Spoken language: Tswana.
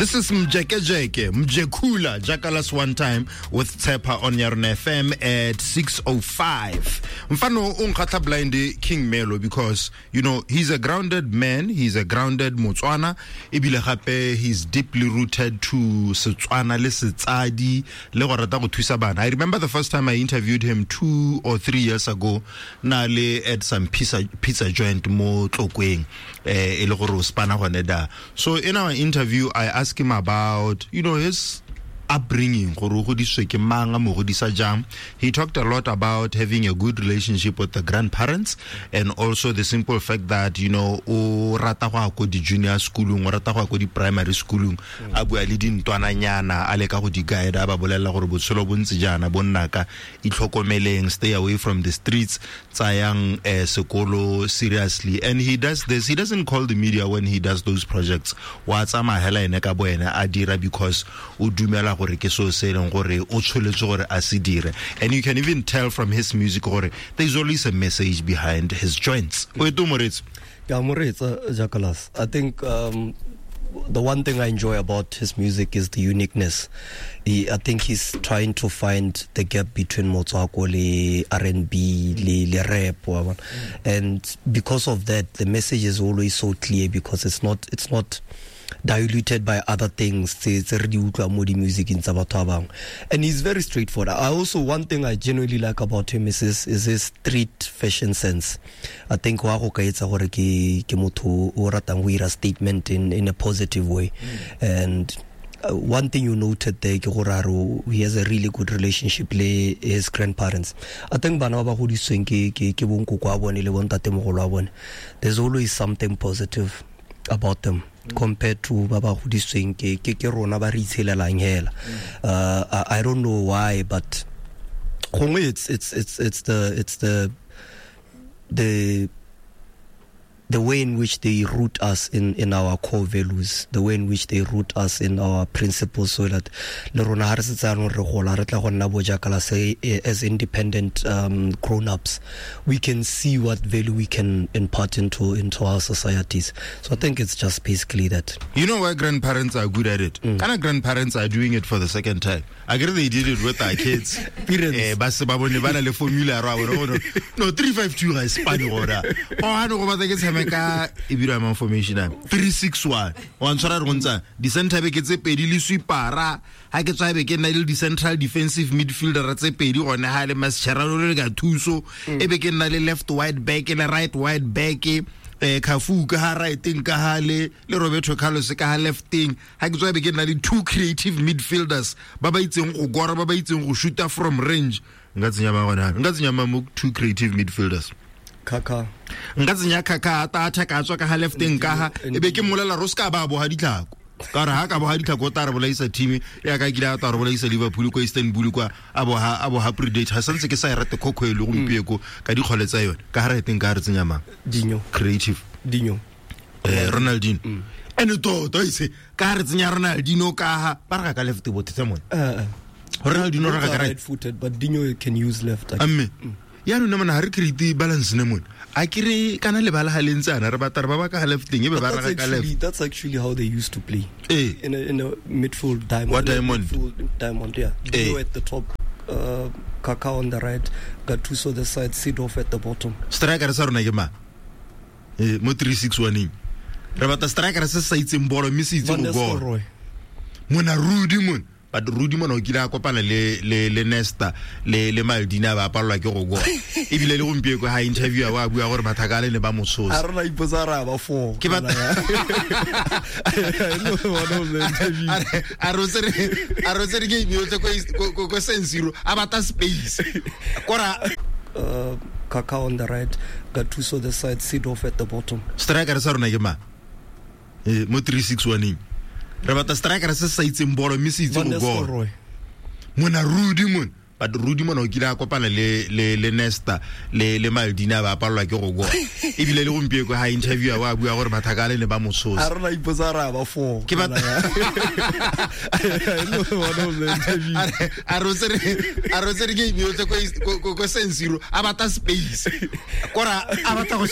This is Mjekejeke, Mjekula, Jackalas one time with Tshepa on Yarona FM at 6:05. Mfano o nkgatlha blind King Melo because you know he's a grounded man, he's a grounded Motswana, ebile gape he's deeply rooted to Setswana le Setsadi le go rata go thusa bana. I remember the first time I interviewed him 2 or 3 years ago, na le at some pizza joint mo Tlokweng, e le gore o spana gone da. So in our interview I asked him about, you know, his upbringing, gore o godisitswe ke mang, a mo godisa jang. He talked a lot about having a good relationship with the grandparents and also the simple fact that, you know, o rata go ya ko di-junior schoolong, o rata go ya ko di-primary schoolong, a bua le dintwananyana, a leka go di guide, a ba bolelela gore botshelo bo ntse jaana, bo nnaka, itlhokomeleng, stay away from the streets, tsayang sekolo seriously. And he does this, he doesn't call the media when he does those projects. Wa tsamaya hela ene ka bo ene a dira because o dumela gore ke so se leng gore o tsholetswe gore a se dire. And you can even tell from his music gore there is always a message behind his joints. O eto moretso? Ke a moretsa, Jackalas. I think the one thing I enjoy about his music is the uniqueness. I think he's trying to find the gap between Motswako le R&B le rap, wa bona. And because of that, the message is always so clear because it's not diluted by other things tse re di utlwa mo di musicing tsa batho ba bangwe. And he's very straightforward. I also, one thing I genuinely like about him is his street fashion sense. I think wa go ka etsa gore ke motho o ratang go ira statement in a positive way. And one thing you noted there ke gore a re he has a really good relationship le his grandparents. I think bana ba ba godisitsweng ke bonkoko a bone le bontatemogolo a bone, there's always something positive about them compared to ba ba godisitsweng ke rona ba re itshelelang hela. I don't know why, but gongwe it's the way in which they root us in our core values, the way in which they root us in our principles, so that le rona ha re setse jaanong re gola, re tla go nna bo jaaka se, as independent grown-ups, we can see what value we can impart into our societies. So I think it's just basically that. You know why grandparents are good at it? Kana grandparents are doing it for the second time. I agree they did it with our kids. Parents. Ba se ba bone ba na le formula ra bona. No, 352 ga e spane gona. O ha no go batla ke tshameka e bira mang formation a 361. Wa ntshwara re go ntsa di center back tse pedi le sweepera. Ha ke tswa be ke nna le di central defensive midfielder tse pedi gone ha le Mascherano le ka thuso. E be ke nna le left wide back le right wide back. Cafu ka ha right-eng ka ha le Roberto Carlos ka ha left-eng. Ha ke tswa be ke nna le two creative midfielders ba ba itseng go gora, ba ba itseng go shoota from range. Nka tsenya ba gona. Nka tsenya ma mo two creative midfielders. Kaka. Nka tsenya Kaka ta attack a tswa ka ha left-eng ka ha e be ke mmolela ro ska ba boha ditlhako. Ka re ha ka boha ditlhako ta re bolaisa team ya ka kile ta re bolaisa Liverpool ko Istanbul kwa a boha Predator. Ha santse ke sa e rate khokho e le gompieko ka dikgole tsa yone. Ka ha re teng ka re tsenya mang? Dinho. Creative. Dinho. Ronaldinho. Ene toto ise ka re tsenya Ronaldinho ka ha ba re ka left bothe tse mone. Ronaldinho re ka right footed, but Dinho can use left. Amme. Ya rona mona ha re create balance ne mone. A ke re kana le bala ha le ntse ana re batla re ba ba ka left teng e be ba ra ka left. That's actually how they used to play. In a midfield diamond. What diamond? Midfield diamond, yeah. Dinho at the top, Kaka on the right, Gattuso the side, Seedorf at the bottom. Striker sa rona ke ma? Mo 361. Re batla striker se sa itseng bolo mme se itse go goal. Mona Rudi mon. But Rudi mona o kile a kopana le Nesta le Maldini ba apallwa ke go goa. Ebile le gompieko ha interview wa bua gore mathaka le ne ba mo tshosa. A rona ipotsa ra ba four. Ke ba a re tsere game yotlhe ko San Siro a batla space. Kora Kaka on the right, Gattuso the side, Seedorf at the bottom. Striker sa rona ke ma? Mo 361. Re batla striker se sa itseng bolo mme se itse go goal. Mona Rudi mon. But Rudi mona o kile a kopana le Nesta le Maldini ba apallwa ke go goa. Ebile le gompieko ha interview wa bua gore mathaka le ne ba mo tshosa. A rona ipotsa ra ba four. Ke ba a re tsere game yotlhe ko San Siro a batla space. Kora a batla go